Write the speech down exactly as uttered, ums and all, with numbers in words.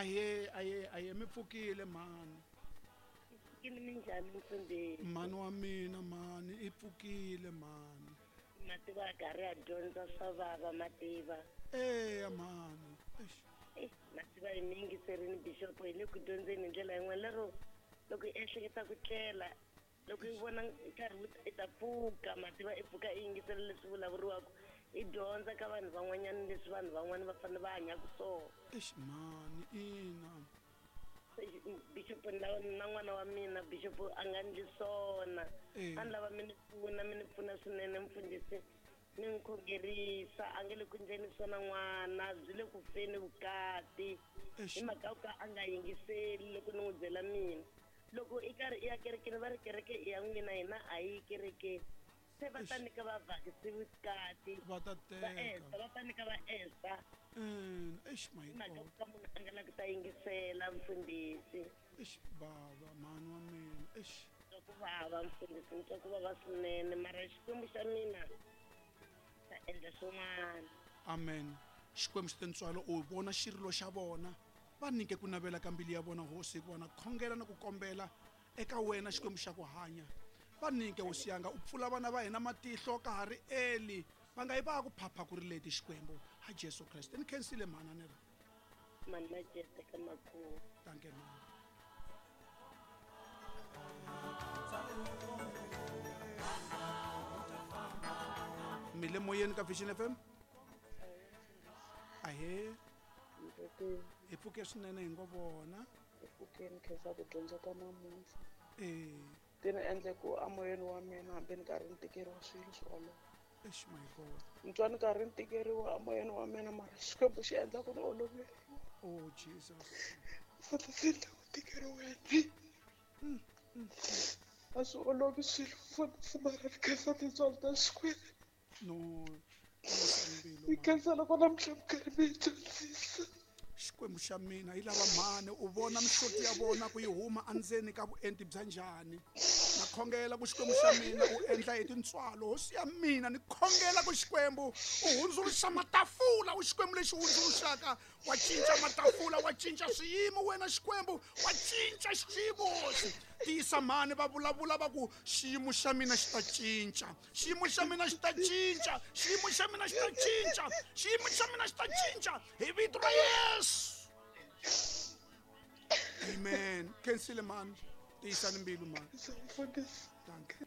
Ahe ahe ahe mi pfukile mhani. Pfukile minjhani mfundhisi? Mhani wa mina mhani i pfukile mhani. Mativa karhi ya dyondza swa vava mativa. Eya mhani. Eish. Eh, mativa hi mi yingiserini bishop hi le ku dyondzeni hi ndlela yin'wana lero loko i ehleketa ku tlela loko i vona nkarhi wu i ta pfuka mativa i pfuka i yingisela leswi vulavuriwaka i dyondza ka vanhu van'wanyana leswi vanhu van'wana va fanele va hanyaka swona. Eish mhani ina. Bishop na na n'wana wa mina bishop a nga ndli swona. Eh. A ni lava mi ni pfuna mi ni pfuna swinene mfundhisi mi ni khongerisa a nge le ku ndleni swona n'wana byi le ku feni vukati. Eish. Hi mhaka yo ka a nga yingiseli loko ni n'wi byela mina. Loko i karhi i ya kerekeni va ri kereke i ya n'wina hina a yi kerekeni. Se va ta Eish. nyika va vhakisi vukati. Va ta Va teka. Esther va ta nyika va Esther. Mm, eish my Hi mhaka God. ku ka munhu a nga lavi ku ta yingisela mfundhisi. Eish bava mhani wa mina. Eish. Twa ku vava mfundhisi ni twa ku vava swinene mara Xikwembu xa mina xa endla swin'wana. Amen. Xikwembu xi tintswalo u vona xirilo xa vona va nyike ku navela ka mbilu ya vona hosi hikuva na khongela na ku kombela eka wena Xikwembu xa ku hanya. Va nyike hosi yanga u pfula vana va hina matihlo ka ha ri early va nga yi va ku phapha ku ri leti Xikwembu ha Jesu Kreste. Ni khensile mhani a ni ri. Mhani Majete ka Makhuwa. Dankie mhani. Mi le moyeni ka Vision F M? Ahee. Hi pfuke swinene hi ngo vona. Hi pfukeni khensa ku dyondza ta namuntlha. Eh. Ti ni endle ku amoyeni wa mina hambi ni karhi ni tikeriwa swilo swi olova. Eish my God. Ni twa ni karhi ni tikeriwa amoyeni wa mina mara Xikwembu xi endla ku ni oloveriwa. Oh Jesus. Mfundhisi ni le ku tikeriweni. A swi olovi swilo mfundhisi mara ni khensa tintswalo ta Xikwembu. No. Ni khensa loko namuntlha mi karhi mi hi dyondzisa. Xikwembu xa mina yi lava mhani u vona mihloti ya vona ku yi huma endzeni ka vuenti bya njhani. Na khongela ku Xikwembu xa mina u endla hi tintswalo hosi ya mina ni khongela ku Xikwembu u hundzuluxa matafula u Xikwembu lexi hundzuluxaka wa cinca matafula wa cinca swiyimo wena Xikwembu wa cinca xiyimo hosi. Tiyisa mhani va vulavula va ku xiyimo xa mina xi ta cinca xiyimo xa mina xi ta cinca xiyimo xa mina xi ta cinca xiyimo xa mina xi ta cinca hi vito ra Yesu. Amen. Khensile mhani. Tiyisani mbilu mhani. Dankie.